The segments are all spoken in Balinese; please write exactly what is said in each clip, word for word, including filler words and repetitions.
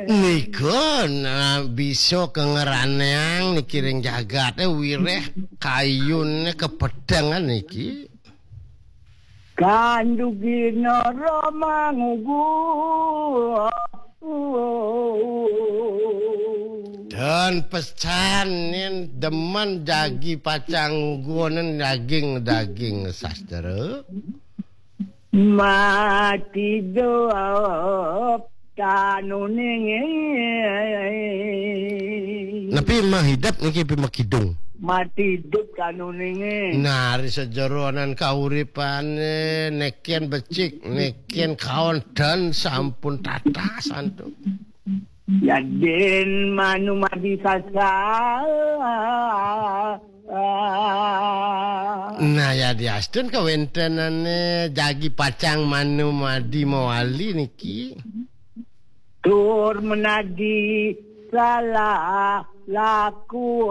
Nika nah, bisa kengeraneang niki ring jagate wiréh kayune kepetengan niki. Kandugina Rama ngugu. Dan pesan nin demen jagi pacang ngugunen daging-daging sastra. Mati dop tanuning. Napi mah hidep niki pi makidung. Mati dop tanuning. Nari sajeronan kauripane neken becik, neken kaon dan sampun tatasan tuh. Yadin manu madi sasa. Nah, yadiastun kawentenane jagi pacang manu madi mawali niki. Tur menadi salah laku.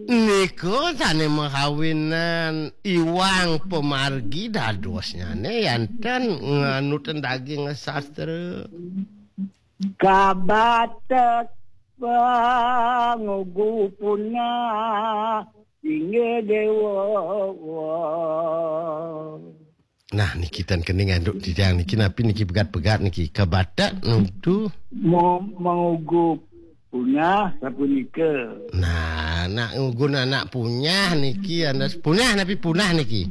Nika sane makawinan iwang pemargi dadosnyane yanten nganutin daging sastra. Kabatek pangugu punah inggih dewa. Nah, niki tan kene nganduk titiang niki napi niki pegat-pegat niki kabatek nutu. Mo-, mangugu punah sapunika. Nah, nak ngugun anak punyah niki, anak punah napi punah niki?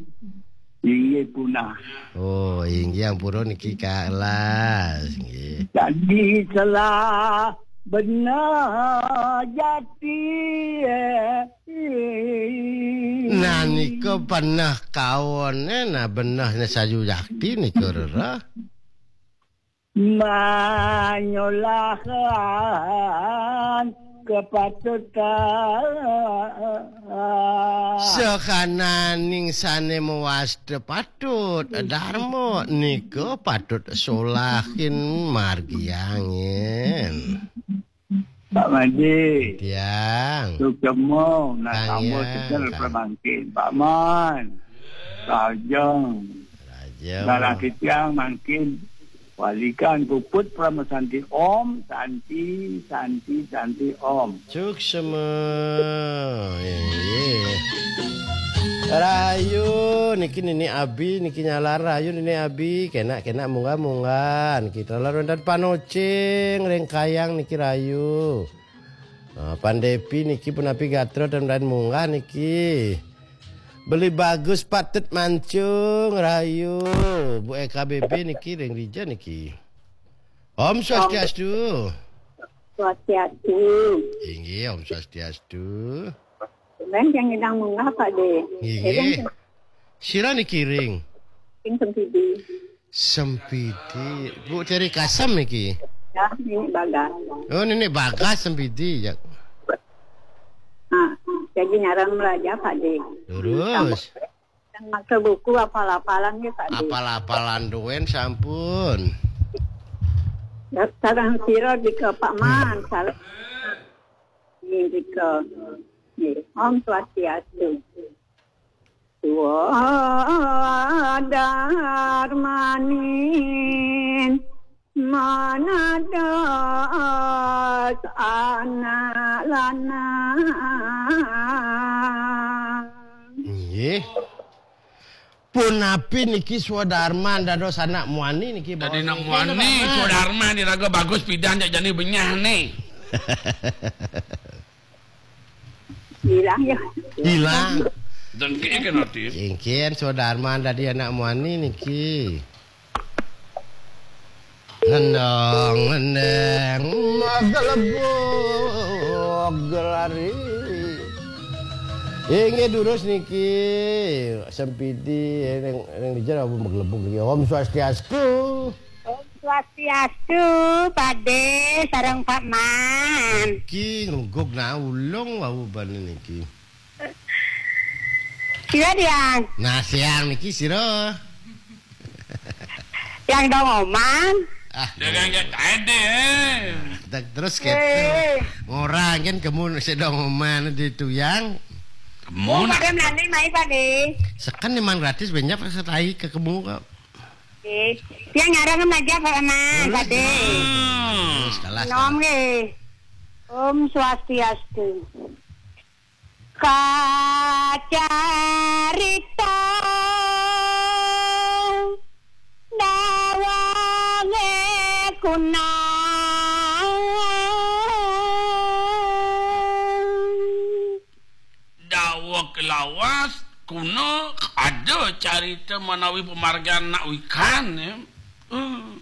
Inggih punah. Oh, inggih ampura niki kalas nggih. Jadi salah benar jati. Nah, nika beneh kaone, nah benehne sayu jakti nika rereh. Manyolahan kepatutan. Sakananing sane mawasta patut, dharma nika patut solahin margiangin. Pak Made. Tiang. Suksema, nah, Kang tambah Yang, sekel Kang. Pramangkin. Pak Man. Rajang. Rajang. Barang titiang mangkin walikan puput Parama Santi. Om Santi, Santi, Santi, Om. Suksema. Inggih. Rayu niki Nini Abi niki nyalar rayu Nini Abi. Kenak-kenak munggah-munggah niki taler wenten panocing ring kayang niki rayu. Nah, Pandepi niki punapi gatra dan lain munggah niki. Beli bagus patut mancung rayu. Bu E K B B niki ring dija niki. Om Swastiastu. Swastiastu. Inggih, Om Swastiastu. Tumben yang ngidang munggah, Pak De. Inggih. Sira niki ring? Ring Sempidi. Sempidi. Bu Teri Kasem niki? Ya, ini Bagas. Oh, Nenek Bagas Sempidi ya. Nah, jadi nyaran belajar, Pak De. Terus? Dan maca buku apal-apalan ya, Pak De. Apal-apalan duen sampun. Sareng sira dika Pak Man, sareng dika. Nggih, Om Swastiastu. Swadarmanin manados anak lanang. Nggih. Punapi niki swadarman dados anak muani niki. Dadi anak muani, swadarman diraga bagus pidan jak jani benyah nih. Hilang ya. Hilang. Dengki kan ati. Ingkin swadarman dadi anak muani niki. Ngendang ngendeng magelebug lari. Inggih durus niki Sempidi ning ning dija magelebug niki. Om Swastiastu. Om Swastiastu, Pade sareng Pak Man. Ki nguguk nah ulung wau bane niki. Sira, Diang. Nah, siang niki sira. Yang dong oman. Ah, dagang jak tadi, eh. Dak terus keto. Eh. Ngorang kan kemu sedong oman di tuyang. Kemu. Oh, nak. Pada melani mai, Pade. Seken memang gratis banyak setai ke kemu kok. Nggih. Tiang nyarengem aja, Pak Mas, Ade. Hmm. Terus, kalah, Nom kalah. Nggih. Om Swastiastu. Kacarita dawange kuna. Daweg lawas kuna ada carita manawi pamargian anak wikan, ya. Uh.